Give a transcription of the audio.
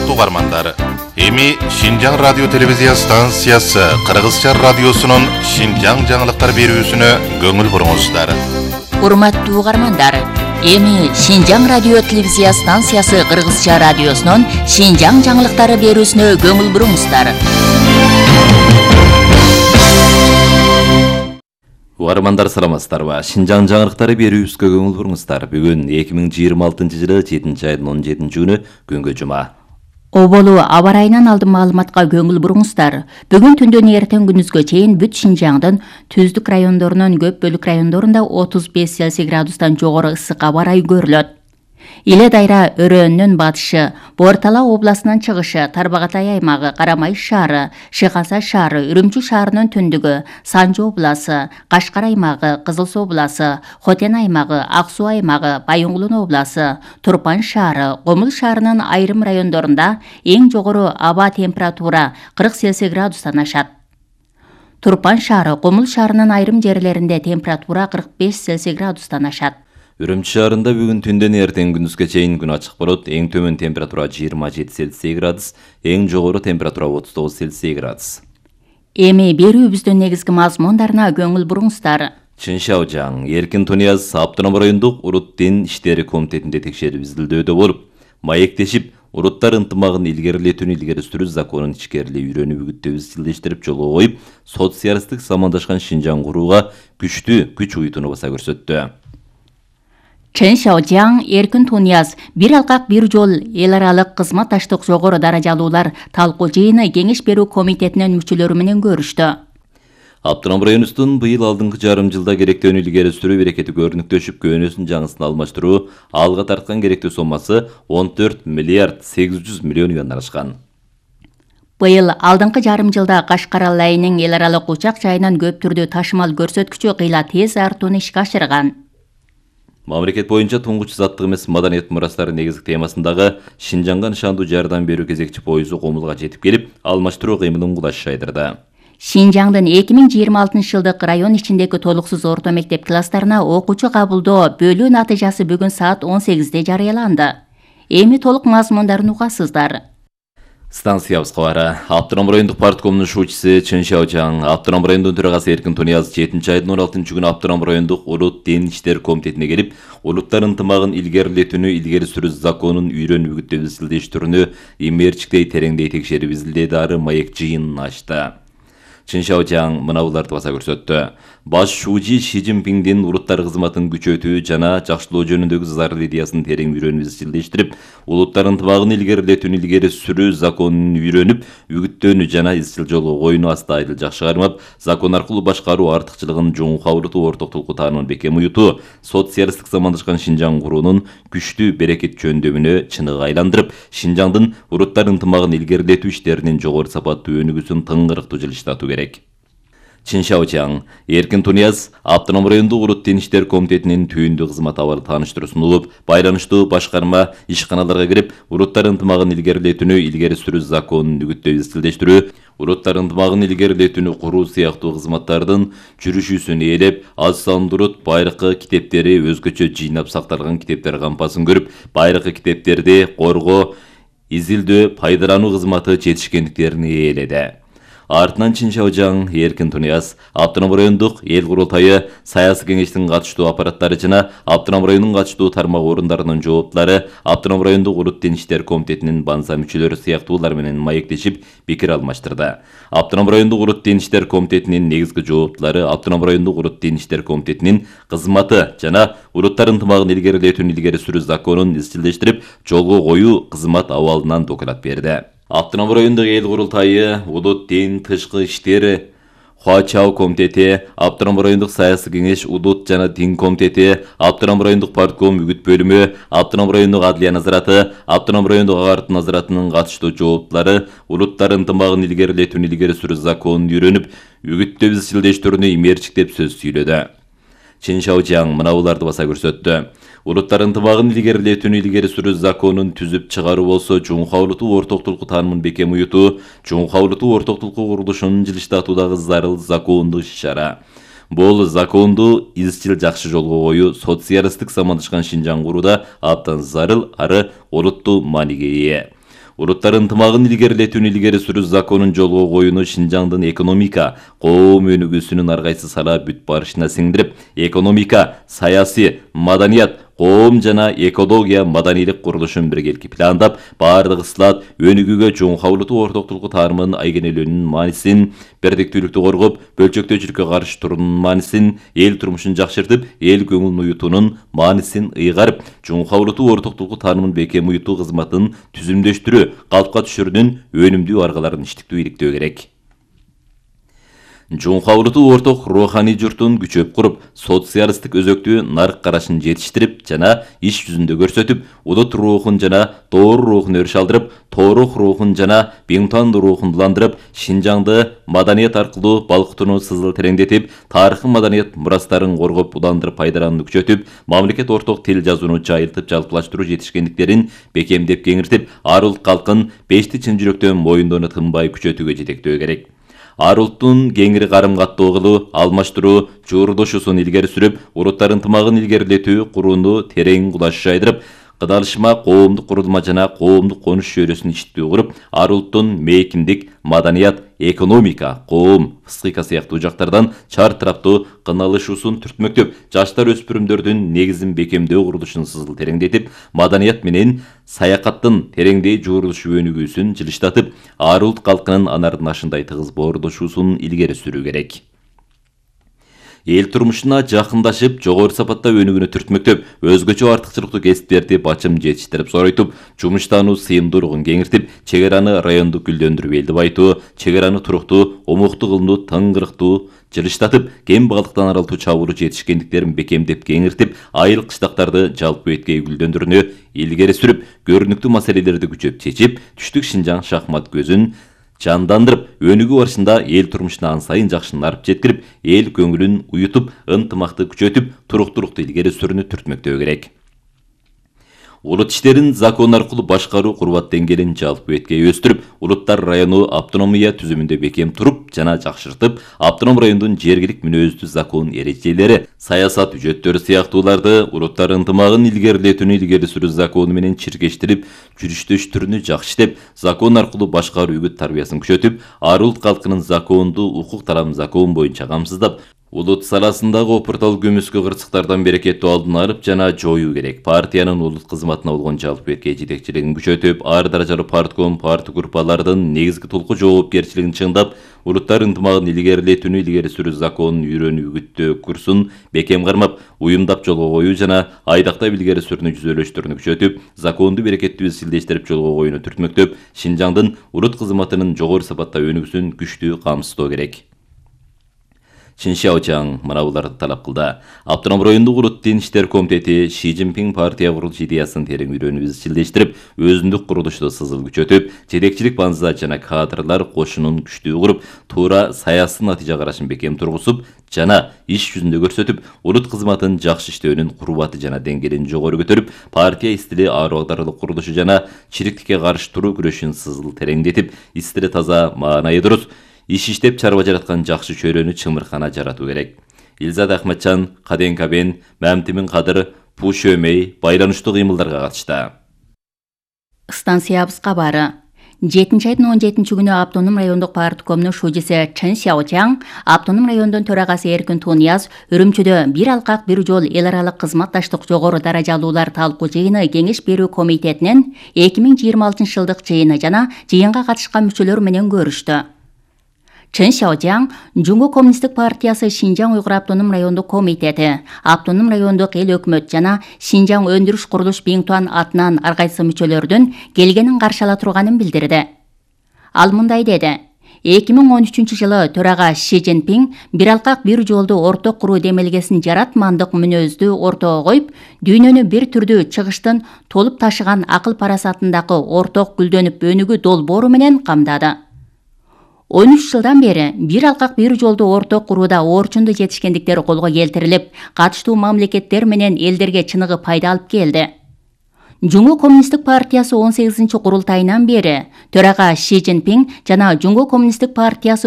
урматтуу угармандар, эми Шинжаң радио телевизия станциясы Кыргызча радиосунун Шинжаң жаңылыктар берүүсүнө көңүл буруңуздар. Урматтуу угармандар, эми Шинжаң радио телевизия станциясы Кыргызча радиосунун Шинжаң жаңылыктары берүүсүнө көңүл буруңуздар. Угармандар саламатсыздарбы? Шинжаң жаңылыктары берүүсүнө көңүл буруңуздар. Бүгүн 2026-жылы 7-айдын 17-күнү күнгө жума. Оболу аба ырайынан алдын маалыматка көңүл буруңуздар. Бүгүн түндөн эртең күнүзгө чейин бүт Шинжаңдын түздүк райондорунун көп бөлүк райондорунда 35 Цельсий градустан жогору ысык аба ырайы көрүлөт. Иле дайра өрөөнүнүн батышы, Бортала областынын чыгышы, Тарбагатай аймагы, Карамайыш шаары, Шыхаса шаары, Үрүмчү шаарынын түндүгү, Санжы обласы, Кашкар аймагы, Кызыл Суу обласы, Хотен аймагы, Ак Суу аймагы, Байоңгулун обласы, Турпан шаары, Комул шаарынын айрым райондорунда эң жогору аба температура 40 Цельсий градустан ашат. Турпан шаары, Комул шаарынын айрым жерлеринде температура 45 Цельсий градустан ашат. Үрүмчү шаарында бүгүн түндөн эртең күндүзгө чейин күн ачык болот. Эң төмөн температура 27 Цельсий градус, эң жогору температура 39 Цельсий градус. Эми берүүбүздүн негизги мазмундарына көңүл буруңуздар. Чыншаужаң, Эркин Тунияз Автоном райондук Урут Дин иштери комитетинде текшерип изилдөөдө болуп, маектешип, уруттар ынтымагын илгерилетүүнү илгери сүрүү законун ичкерилей үйрөнүп үгүттөп изчилдештирип жолго коюп, социалисттик замандашкан Шинжаң курууга күчтүү күч уютууну баса көрсөттү. Чыншаужаң, Эркин Тунияз бир алкак бир жол эл аралык кызматташтык жогору даражалуулар талкуу жыйыны кеңеш берүү комитетинин мүчөлөрү менен көрүштү. Автоном районубуздун быйыл алдыңкы жарым жылда керектөөнү илгери сүрүү берекети көрүнүктөшүп, көөнөсүн жаңысын алмаштыруу алга тарткан керектүү соммасы 14 миллиард 800 миллион юандан ашкан. Быйыл алдыңкы жарым жылда Кашкар алайынын эл аралык учак жайынан көп түрдүү ташымал көрсөткүчү кыйла тез артууну ишке ашырган. Мамлекет боюнча туңгуч заттык эмес маданият мурастары негизги темасындагы Шинжаңга нышандуу жардам берүү кезекчи поезу Комулга жетип келип, алмаштыруу кыймылын кулаш жайдырды. Шинжаңдын 2026-жылдык район ичиндеги толуксуз орто мектеп класстарына окуучу кабылдоо бөлүү натыйжасы бүгүн саат 18-де жарыяланды. Эми толук мазмундарын угасыздар. Станциябызга бара. Автоном райондук парткомунун шуучусу Чыншаужаң, Автоном райондун төрагасы Эркин Тунияз 7-айдын 16-күнү Автоном райондук Урут Дин иштер комитетине келип, улуттар ынтымагын илгерилетүүнү илгери сүрүү законун үйрөнүп үгүттөп изилдештирүүнү имерчиктей тереңдей текшерип изилдөөдө ары маек жыйынын ачты. Чыншаужаң мынауларды баса көрсөттү. Баш шуучу Ши Цзиньпиңдин улуттар кызматын күчөтүү жана жакшылоо жөнүндөгү зарыл идеясын терең үйрөнүп изчилдештирип, улуттар ынтымагын илгерилетүүнү илгери сүрүү законун үйрөнүп, үгүттөөнү жана изчил жолго коюуну аста айдыл жакшы кармап, закон аркылуу башкаруу артыкчылыгын жоң кабылтуу ортоктулку таанымын бекем уютуу, социалисттик замандашкан Шинжаң куруунун күчтүү берекет жөндөмүнө чыныгы айландырып, Шинжаңдын уруттар ынтымагын илгерилетүү иштеринин жогору сапаттуу өнүгүүсүн тыңгырыктуу жылыштатуу керек. Чыншаужаң, Эркин Тунияз Автоном райондук Урут Дин иштер комитетинин түйүндүү кызмат абалы тааныштыруу сунулуп, байланыштуу башкарма ишканаларга кирип, уруттар ынтымагын илгерилетүүнү илгери сүрүү законун үгүттөп изчилдештирүү, уруттар ынтымагын илгерилетүүнү куруу сыяктуу кызматтардын жүрүшүүсүн ээлеп, аз сандуу урут байыркы китептери өзгөчө жыйнап сакталган китептер кампасын көрүп, байыркы китептерди коргоо, изилдөө, пайдалануу кызматы жетишкендиктерин ээледи. Артынан Чыншаужаң, Эркин Тунияз, Автоном райондук эл курултайы, саясий кеңештин катыштуу аппараттары жана Автоном районунун катыштуу тармак орундарынын жооптулары, Автоном райондук Урут Дин иштер комитетинин банса мүчөлөрү сыяктуулар менен маектешип, пикир алмаштырды. Автоном райондук Урут Дин иштер комитетинин негизги жооптулары Автоном райондук Урут Дин иштер комитетинин кызматы жана уруттар ынтымагын илгерилетүүнү илгери сүрүү законун изчилдештирип, жолго коюу кызмат абалынан доклад берди. Автоном райондук эл курултайы, Урут Дин тышкы иштер Хуачау комитети, Автоном райондук саясий кеңеш Удут жана Дин комитети, Автоном райондук партком үгүт бөлүмү, Автоном райондук адлия назараты, Автоном райондук агартуу назаратынын катыштуу жооптулары уруттар ынтымагын илгерилетүүнү илгери сүрүү законун үйрөнүп, үгүттөп изчилдештирүүнү имерчиктеп сөз сүйлөдү. Чыншаужаң мынауларды баса көрсөттү. Уруттар ынтымагын илгерилетүүнү илгери сүрүү законун түзүп чыгаруу болсо, чоң кабылтуу ортоктулку таанымын бекем уютуу, чоң кабылтуу ортоктулку курулушунун жылыштатуудагы зарыл закондук иш-чара. Бул законду изчил жакшы жолго коюу социалисттик замандашкан Шинжаң курууда абдан зарыл ары олуттуу мааниге ээ. улуттар ынтымагын илгерилетүүнү илгери сүрүү законун жолго коюуну Шинжаңдын экономика, коом өнүгүүсүнүн ар кайсы сала бүт барышына сиңдирип, экономика, саясий, маданият, коом жана экология маданийлик курулушун биргеликти пландап, баардык ысылат өнүгүүгө чоң кабылдуу ортоктулук таарымын айгенелөөнүн маанисин, бирдиктүүлүктү коргоп, бөлчөктөөчүлүккө каршы туруунун маанисин, эл турмушун жакшыртып, эл көңүлүн уютуунун маанисин ыйгарып, чоң кабылдуу ортоктулук таарымын бекем уютуу кызматын түзүмдөштүрүү, калпка түшүрүүнүн өнүмдүү аргаларын иштиктүү иликтөө керек. Чоң кабылдуу орток руханий журтун күчөп куруп, социалисттик өзөктүү нарк карашын жетиштирип жана иш жүзүндө көрсөтүп, улут рухун жана тоор рухун өрүш алдырып, тоорох рухун жана Беңтан рухун буландырып, Шинжаңды маданият аркылуу балкытууну сызыл тереңдетип, тарыхый маданият мурастарын коргоп, уландырып пайдаланууну күчөтүп, мамлекет орток тил жазууну жайылтып, жалпылаштыруу жетишкендиктерин бекемдеп кеңиртип, ар улут калкын бешти чын жүрөктөн моюндоону тынбай күчөтүүгө жетектөө керек. Ар улуттун кеңири карым-каттоо кылуу, алмаштыруу, жуурдошуусун илгери сүрүп, улуттар ынтымагын илгерилетүү курууну терең кулаш жайдырып, кыдалышма коомдук курулма жана коомдук конуш чөйрөсүн иштитүү куруп, ар улуттун мейкиндик, маданият, экономика, коом, психика сыяктуу жактардан чар тараптуу кыналышуусун түртмөктөп, жаштар өспүрүмдөрдүн негизин бекемдөө курулушун сызыл тереңдетип, маданият менен саякаттын тереңдей жуурулушу өнүгүүсүн жылыштатып, ар улут калкынын анардын ашындай тыгыз боордошуусун илгери сүрүү керек. Эл турмушуна жакындашып, жогору сапатта өнүгүүнү түртмөктөп, өзгөчө артыкчылыктуу кесиптерди бачым жетиштирип соройтуп, жумуштануу сыйымдуулугун кеңиртип, чек араны райондук гүлдөндүрүп элди байтуу, чек араны туруктуу, омуктуу кылынуу, тыңгырыктуу жылыштатып, кем баглыктан аралтуу чабууру жетишкендиктерин бекемдеп кеңиртип, айыл кыштактарды жалпы эткей гүлдөндүрүүнү илгери сүрүп, көрүнүктүү маселелерди күчөп чечип, түштүк Шинжаң шахмат көзүн жандандырып, өнүгүү барышында эл турмушуна ан сайын жакшынарып жеткирип, эл көңүлүн уютуп, ынтымакты күчөтүп, туруктуулукту илгери сүрүүнү түртмөктөө керек. Улут иштерин закон аркылуу башкаруу курбат деңгээлин жалпы эткей өстүрүп, улуттар району автономия түзүмүндө бекем туруп жана жакшыртып, автоном райондун жергилик мүнөздүү закон эрежелери, саясат үжөттөрү сыяктууларды улуттар ынтымагын илгерилетүүнү илгери сүрүү закону менен чиркештирип, жүрүштөштүрүүнү жакшытып, закон аркылуу башкаруу үгүт тарбиясын күчөтүп, ар улут калкынын закондуу укук талабын закон боюнча камсыздап, улут саласындагы опуртал көмүскө кырсыктардан берекеттүү алдын алып жана жоюу керек. Партиянын улут кызматына болгон жалпы эткей жетекчилигин күчөтүп, ар даражалуу партком, парти группалардын негизги толку жоопкерчилигин чыңдап, улуттар ынтымагын илгерилетүүнү илгери сүрүү законун үйрөнүү үгүттөө курсун бекем кармап, уюмдап жолго коюу жана айдактап илгери сүрүүнү жүзөлөштөрүнү күчөтүп, законду берекеттүү изилдештирип жолго коюуну түртмөктөп, Шинжаңдын улут кызматынын жогору сапатта өнүгүүсүн күчтүү камсыздоо керек. Чин Шаочаң мына буларды талап кылды. Автоном райондук улут дин иштер комитети Ши Цзиньпин партия курулуш идеясын терең үйрөнүп изчилдештирип, өзүндүк курулушту сызыл күчөтүп, жетекчилик банза жана кадрлар кошунун күчтүү куруп, туура саясий натыйжа карашын бекем тургузуп жана иш жүзүндө көрсөтүп, улут кызматын жакшы иштөөнүн курбаты жана деңгээлин жогору көтөрүп, партия истили ар багдарлык курулушу жана чириктикке каршы туруу күрөшүн сызыл тереңдетип, истили таза, маанайы дурус, иш иштеп чарба жараткан жакшы чөйрөнү чымыркана жаратуу керек. Илзат Ахматчан, Каден Кабен, Мамтимин Кадыр, Пушөмей байланыштуу кыймылдарга катышты. Станциябыз кабары. 7-айдын 17-күнү автоном райондук парткомдун шужиси Чин Шаочаң, автоном райондун төрагасы Эркин Тунияз Үрүмчүдө бир алкак бир жол эл аралык кызматташтык жогору даражалуулар талкуу жыйыны кеңеш берүү комитетинин 2026-жылдык жыйыны жана жыйынга катышкан мүчөлөр менен көрүштү. Чин Шаочаң, Жумгу коммунисттик партиясы Шинжаң Уйгур автоном райондук комитети, автоном райондук эл өкмөт жана Шинжаң өндүрүш курулуш Беңтуан атынан ар кайсы мүчөлөрдүн келгенин каршы ала турганын билдирди. Ал мындай деди: 2013-жылы төрага Ши Цзиньпин бир алкак бир жолду орток куруу демелгесин жаратмандык мүнөздү ортого коюп, дүйнөнү бир түрдүү чыгыштын толуп ташыган акыл парасатындагы орток гүлдөнүп өнүгүү долбоору менен камдады. 13 жылдан бери бир алкак бир жолду орток курууда орчунду жетишкендиктер колго келтирилип, катыштуу мамлекеттер менен элдерге чыныгы пайда алып келди. Жумгу коммунисттик партиясы 18-курултайынан бери төрага Ши Цзиньпин жана Жумгу коммунисттик партиясы